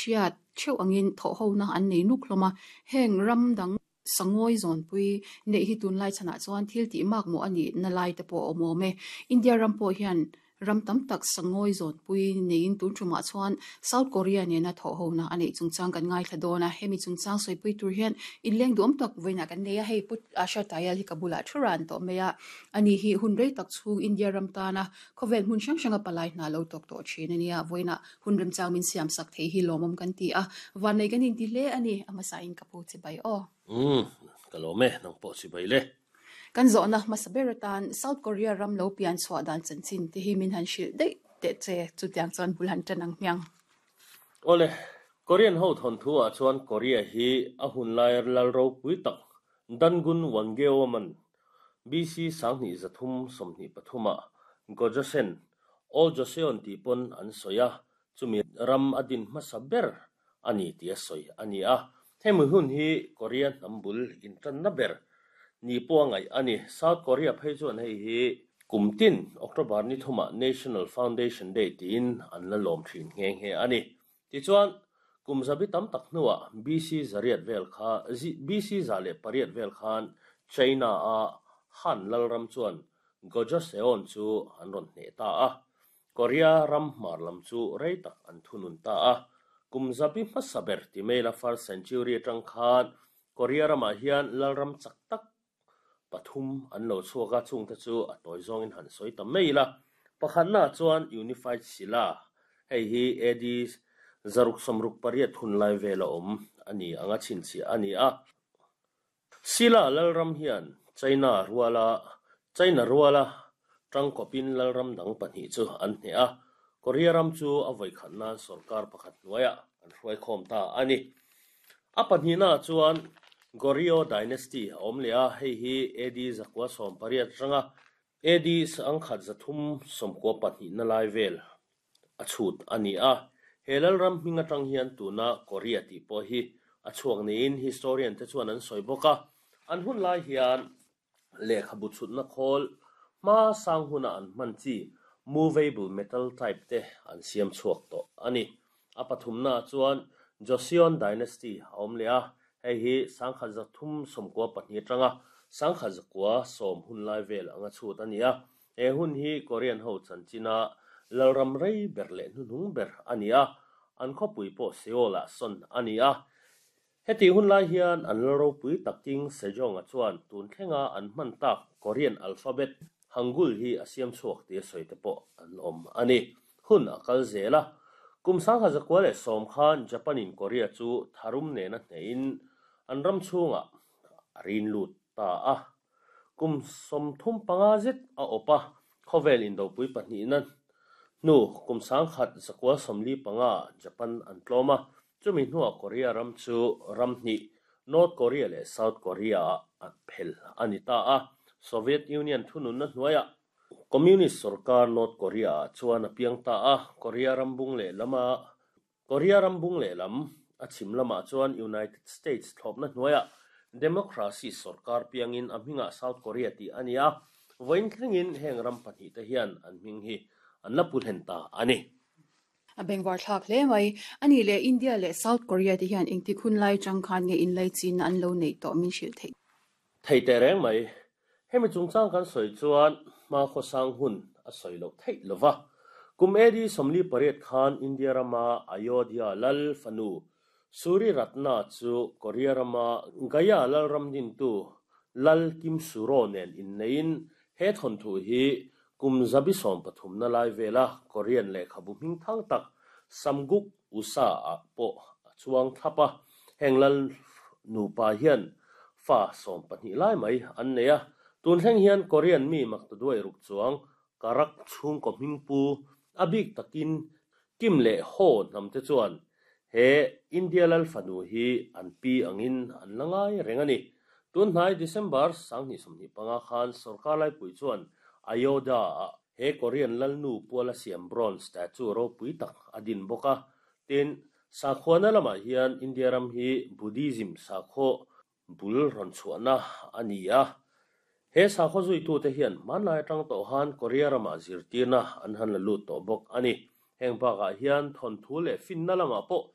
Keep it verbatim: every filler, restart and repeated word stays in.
hriat theuh angin thawh hona an nei nuk hlawm a heng ram dang sangawi zawnpui neih hi tunlai chhanah chuan thil tih mak maw ani na lai te pawh a awm awm e India ram pawh hian ram tam tak sangawi zawnpui neiin tun tumah chuan South Korea nena thawh hona a neih chungchang kan ngaithla dawn a hemi chungchang sawipui tur hian inleng duam tak vawiinah kan nei a hei put Asha Tayal hi ka bulah thu ran tawh mai a ani hi hun rei tak chhung India ram tana khawvel hmun hrang hranga palai hna lo tawk tawh thin ania vawiinah hun remchang min siam sak thei hi lawmawm kan ti a van nei kan inti hle ani a hmasa in ka pu chi bai aw um ka lo me nang pawh chi bai le kan zawhna hmasa ber atan South Korea ram lo pian chhuah dan chanchin te hi min han hrilh daih te che chutiang chuan bul han tan ang hmiang ole Korean ho thon thu a chuan Korea hi a hun lai lal ro pui tak Dangun Wangeo man B C sanghnih zathum sawmhnih pathuma Gojoseon Old Joseon ti pon an soya chumi ram adin hmasa ber ani ti a soi ani a hemi hun hi Korea hnambul in tan na ber ni pawh ngai ani South Korea phei chuan hei hi kumtin October ni thuma National Foundation Day tiin an la lawm thin nge nge ani ti chuan kum zabi tam tak hnuah B C zariat vel kha B C zale pariat vel khan China a Han lalram chuan Gojoseon chu an rawn hne ta a Korea ram hmar lam chu rei tak an thunun ta a kum zabi hmasa ber ti maila first century atang khan Korea ramah hian lalram chak tak pathum an lo chhuaka chung te chu a tawi zawngin han sawi ta mai la pakhatna chuan Unified Silla hei hi A D zaruk sawmruk pariat hun lai vel a awm ani anga chhinchhiah ani a Silla lalram hian China ruala China ruala tangkawpin lalram dang pahnih chu an hne a Korea ram chu a vawi khatna sarkar pakhat hnuaiah an hruai khawm ta ani a pahnihna chuan Goryeo Dynasty a awm leh a hei hi A D zakua sawm pariat atanga A D sangkhat zathum sawmkua pahnih na lai vel a chhut ani a he lalram hming atang hian tuna Korea tih pawh hi a chhuak niin historian te chuan an sawi bawk a an hun lai hian lehkhabu chhutna khawl hma sang huna an hman chi movable metal type te an siam chhuak tawh ani a pathumna chuan Joseon Dynasty a awm leh a hei hi sangkhat zathum sawmkua pahnih atanga sangkhat zakua sawm hun lai vel anga chhut ani a he hun hi Korean ho chanchina lalram rei ber leh hnuhnung ber ani a an khawpui pawh Seoul ah sawn ani a heti hun lai hian an lalropui taking Sejong a chuan tun thlenga an hman tak Korean alphabet Hangul hi a siam chhuak ti a sawi te pawh an awm ani hun a kal zel a kum sangkhat zakua leh sawm khan Japan in Korea chu tharum nena hnehin an ram chhungah a rin lut ta a kum sawmthum panga zet a awp a khawvel indopui pahnih na hnu kum sangkhat zakua sawmli panga Japan an tlawm a chumi hnuah Korea ram chu ram hnih North Korea leh South Korea ah a phel ani ta a Soviet Union thunun na hnuaiah Communist sarkar North Korea ah chuan a piang ta a Korea ram bung leh lama Korea ram bung leh lam a chhim lamah chuan United States thlawpna hnuaiah democracy sarkar piangin a hmingah South Korea tih ani a vawiin thlengin heng ram pahnih te hian an hming hi an la pu hlen ta ani a bengvar thlak hle mai ani leh India leh South Korea te hian engtik hun lai tang khan nge in lai chin an lo nei tawh min hrilh thei thei te reng mai hemi chungchang kan sawi chuan hma khaw sang hun a sawi loh theih lova kum A D sawmli pariat khan India rama Ayodhya lal fanu Suri Ratna chu Korea rama Gaya lalram dintu lal Kim Suro nen inneiin he thon thu hi kum zabi sawm pathum na lai vela Korean lehkhabu hming thang tak Samguk Usa ah pawh a chuang thlap a heng lal nupa hian fa sawm pahnih lai mai an nei a tun thleng hian Korean mi maktaduai ruk chuang karak chhungkaw hming pu a bik takin Kim leh Ho hnam te chuan he India lal fanu hi an pi angin an la ngai reng ani tun hnai December sanghnih sawmhnih panga khan sarkar laipui chuan Ayodhya ah he Korean lalnu puala siam bronze statue ropui tak a din bawk a tin sakhuana lamah hian India ram hi Buddhism sakhaw bul rawn chhuahna ani a he sakhaw zuitu te hian hmanlai atang tawh han Korea ramah zirtirna an han la lut tawh bawk ani heng bakah hian thawnthu leh finna lamah pawh